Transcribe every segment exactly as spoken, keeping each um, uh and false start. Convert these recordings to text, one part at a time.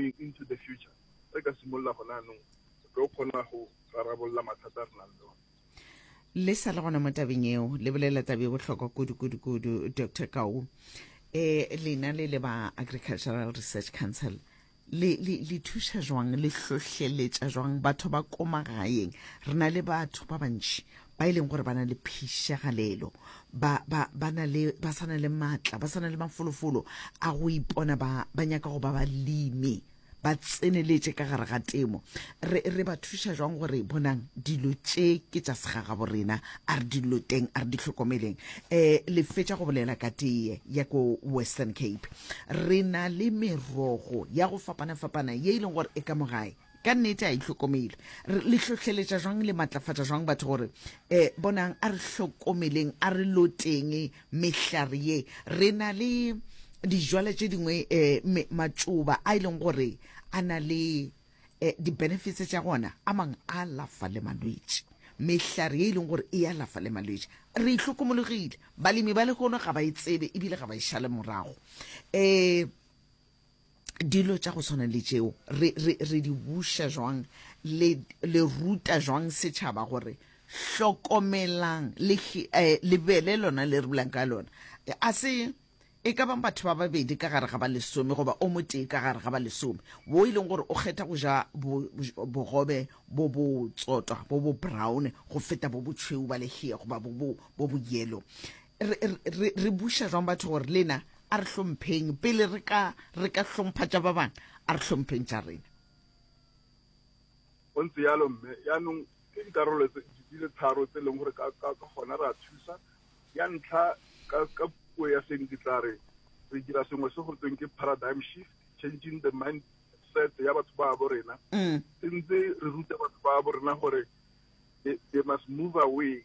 Going into the future, re ka simolola gona anong, re tlo kgona go rarabolola mathata a re nang le one. Le sa le gona mo tabeng eo, le bolela tabe bohlokwa kudu kudu kudu, Doctor Kau. um lena le le ba Agricultural Research Council, le le le thuša jwang, le hlohleletša jwang batho ba ko magaeng? Re na le batho ba bantši ba e leng gore ba na le phišagalelo, ba ba ba na le, ba sa na le maatla, ba sa na le mafolofolo a go ipona ba ba nyaka go ba balemi, ba tseneletše ka gare ga temo. Re re ba thuša jwang gore bonang dilo tše ke tša segagabo rena, a re di loteng, a re di hlokomeleng? um le fetša go bolela ka teye ya ko Western Cape. Re na le merogo ya go fapana-fapana ye e leng gore e ka mo gae, ka nnete a e hlokomele. Le hlohleletša jwang, le matlafatša jwang batho gore um bonang, a re hlokomeleng, a re loteng mehlare ye? Re na le dijwale tše dingwe, um matšoba a e leng gore a na le um di-benefits tša gona, a mangwe a alafa le malwetši, mehlare ye e leng gore e alafa le malwetši. Re itlhokomologile, balemi ba lehono ga ba e tsebe ebile ga ba e šale morago. um dilo tša go tshwana le tšeo re, re, re di buša jwang? le, le ruta jwang setšhaba gore hlokomelang le, eh, lebele lona le re bulang ka lona? A se e ka bang batho ba babedi ka gare ga ba lesome goba o motee ka gare ga ba lesome wo e leng gore o kgetha go ja bogobe bo bo tsotwa, bo bo brown, go feta bo botšhweu ba lehea goba bo bo bo bo yellow. re, re, re buša jwang batho gore lena a re hlompheng pele re ka re ka hlompha tša ba bangwe, a re hlompheng tša rena? Go ntse yalo, mme yaanong ke dikarolo di le tharo tse e leng gore ka gona re a thusa. Ya ntlha, ka ka puo ya seng ke tla re re dira sengwe se go tweng ke paradigm shift, changing the mindset ya batho ba bo rena. mm. Sentse re ruta batho ba bo rena gore they, they must move away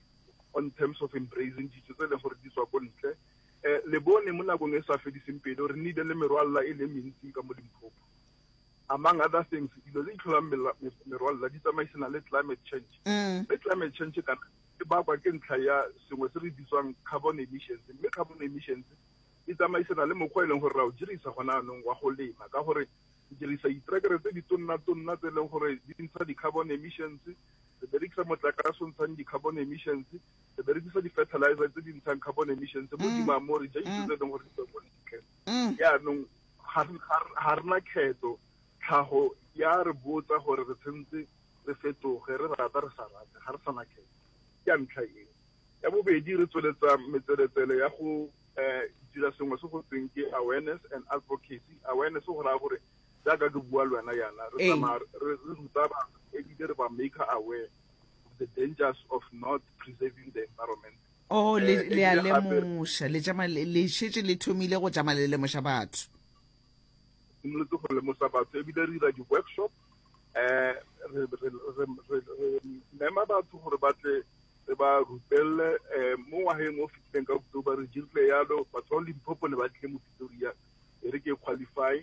on terms of embracing dijo tse e leng gore di tswa ko ntle. um le bone mo nakong e sa fediseng pelo re nnile le merwalela e le mentsi ka mo Limpopo, among other things. Dilo tse di tlholang merwalela di tsamaisana le climate change, Mm. mme climate change kana e bakwa ke ntlha ya sengwe se re bitswang carbon emissions, mme carbon emissions e tsamaisana le mokgwa e leng gore ra o dirisa gona anong wa go lema, ka gore re dirisa ditrekere tse di tonna-tonna tse e leng gore di ntsha di-carbon emissions, re berekisa motlakase o ntshang di-carbon emissions, re berekisa di-fertilizer tse di ntshang carbon emissions, mo godimo mo re ja dijo tse e leng gore di tswa ko ntle. Mm. Yaanong ga re na kgetho, tlhago ya re botsa gore re tshwanetse re fetoge, re rata re sa rate, ga re sana kgetho. Ke ya ntlha eo. Ya bobedi, re tsweletsa metseletsele ya go um dira sengwe se go tweng ke awareness and advocacy. Awareness go raya gore jaaka ke bua le wena yana, re Ee. tsamaya re re ruta batho ebile re ba make aware of the dangers of not preserving the environment. Oh, le Eh, le a ebile gape- lemoša, le tšama le le šetše le thomile go tšama le lemoša batho. Simolotse go lemosa batho ebile re dira di-workshop, um re re- re- re- re mema batho gore ba tle re ba rupelle. um mo ngwageng o fetileng ka October re dirile yalo, batho ba Limpopo ne ba tlile mo Pretoria e re ke qualify.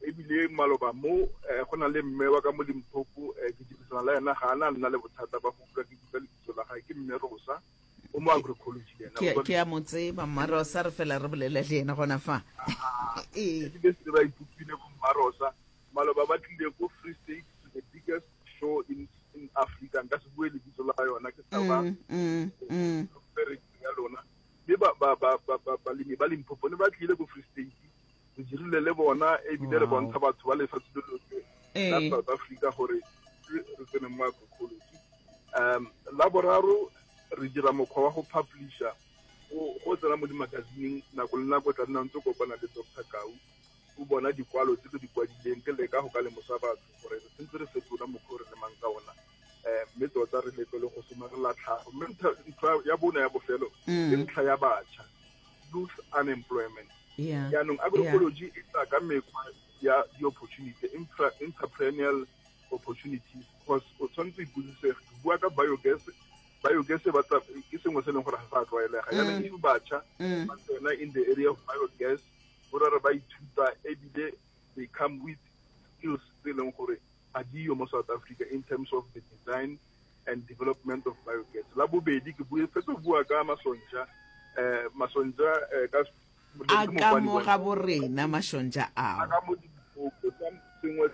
Ebile maloba mo um go na le mme wa ka mo Limpopo, um ke dirisana le ena, ga ana nna le bothata ba go utlwa ke bitsa lebitso la gae, ke mme Rosa, o mo agroecology le ena. Ke o tswa ke a mo tseba Mmarosa, re fela re bolela le yena gona fa. Ee. Ebile se ba ipopile bo Mmarosa maloba, ba tlile ko Free State to the biggest show in, in Africa, nka se bue lebitso la yona, ke sa ba Mm, mm, mm. ya lona, mme ba- ba- ba- ba- ba- balemi ba Limpopo ne ba tlile ko Free State, re dirile le bona ebile re Wow. bontsha batho ba lefatshe le lotlhe la Ee. South Africa gore re re tsene mo agroecology. um la boraro, re dira mokgwa wa go publisha, go go tsena mo dimagazineng nako le nako, tla nna ntse o kopana le Doctor Kau, o bona dikwalo tse ke di kwadileng, ke leka go ka lemosa batho gore re sentse re fetola mokgwa o re lemang ka ona, um mme tota re leke le go somarela tlhago. Mme ntho ntho ya bone ya bofelo ke Mm. ntlha ya batjha, youth unemployment. Yeah. Jaanong agroecology e tla ka mekgwa ya di-opportunity, intra- entrepreneurial opportunities, because o tshwanetse o ipotsise, ke bua ka biogas. Biogas e batla ke sengwe se e leng gore ga sa tlwaelega. Jaanong if batjha Mm. ba tsena in the area of biogas, go ra re ba ithuta ebile they come with skills tse e leng gore ga diyo mo South Africa in terms of the design and development of biogas. La bobedi, ke bue fetse go bua ka masonja, um masonja eh, ka A ka mo ga borena mašontša a ao. Ka mo Limpopo, sengwe se